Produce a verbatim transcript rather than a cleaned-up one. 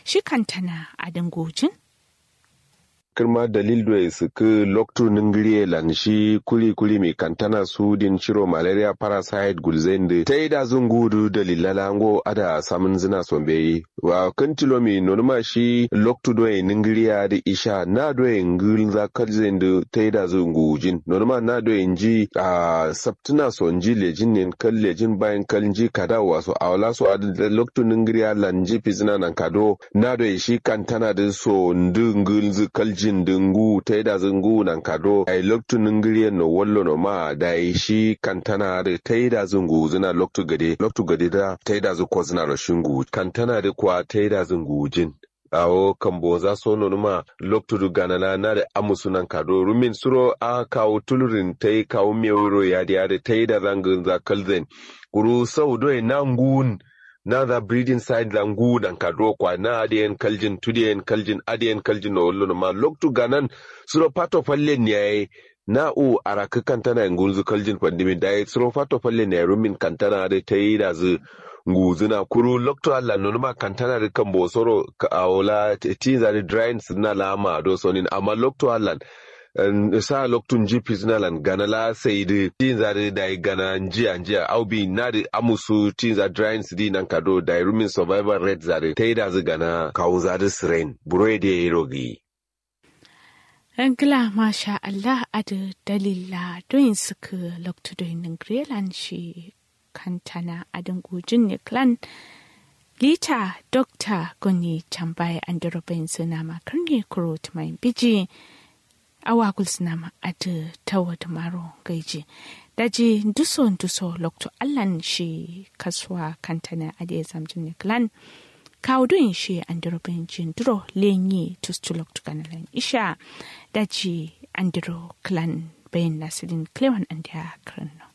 Shi kantana adǝ ngujin. Kǝrma dalil doi sǝkkǝ loktu nǝngǝriye lan shi kuri kuri mi kantana sudin shiro malaria parasite gulzain dǝ taidazǝ ngudǝ dalil lala ngo ada samǝnzǝna so mbeyi. Wa kǝn tilo mi nonuma shi loktu doi nǝngǝriye adǝ isha na doi ngǝlza kalzain dǝ taidazǝ ngujin nonuma na doi nji a saptǝna so nji lejin nen kal lejin bayin kal nji kadawa so awala so adǝ loktu nǝngǝriye lan nji fizǝna nan kado. Na doi shi kantana dǝ so ndǝ ngǝlzǝ kaljin dǝ ngu taidazǝ ngu nan kado ai loktu nǝngǝriyen no wallo no ma dai shi kantana adǝ taidazǝ nguzǝna loktu gade loktu gade da taidazǝ kozǝna ro shi ngu kantana dǝ kwa taidazǝ ngujin. Awo kamboza so nonuma loktu dǝ ganala na dǝ amusu nan kado rumin suro a kawu tulurin tai kawu mewiro yadi adǝ taidazǝ ngǝlza kalzain. Kuru sau doi na ngun na za breeding site za ngu nan kaduro kwa na adiyen kaljin tudiyen kaljin adiyen kaljin no wallo no ma loktu ganan. Suro fato fallen yayi na u arakǝ kantana ye ngulzu kaljin fandimi dayi suro fato fallen yayi rumin kantana adǝ taidazǝ nguzǝna kuru loktu allan nonuma kantana dǝ kambo soro awola tinza dǝ drying sǝdǝna la ma do sonin amma loktu allan sa loktu nji fizǝna lan gana la sai dǝ tinza dǝ dayi gana njiya njiya au bi na dǝ amusu tinza drying sǝdi nan kado dayi rumin survival rate za dǝ taidazǝ gana kawunza dǝ sǝrain buro ye dǝ yayiro gǝyi. Ngla masha allah adǝ dalilla doyin sǝkkǝ loktu doyin nǝngǝre lan shi kantana adǝ ngujin ne klan. Lita dokta goni chambaye andero bayin sǝna ma kǝrne kuro tǝmayin biji. Awa gulsǝna ma adǝ tawo dǝmaro gaiji. Daji nduso nduso loktu allan shi kasuwa kantana adǝ ye zamjin ne klan. Kawu doyin shi andero bayin jin duro lenyi tustu loktu gana lan isha. Daji andero klan bayin nasilin klewan andiya kǝranno.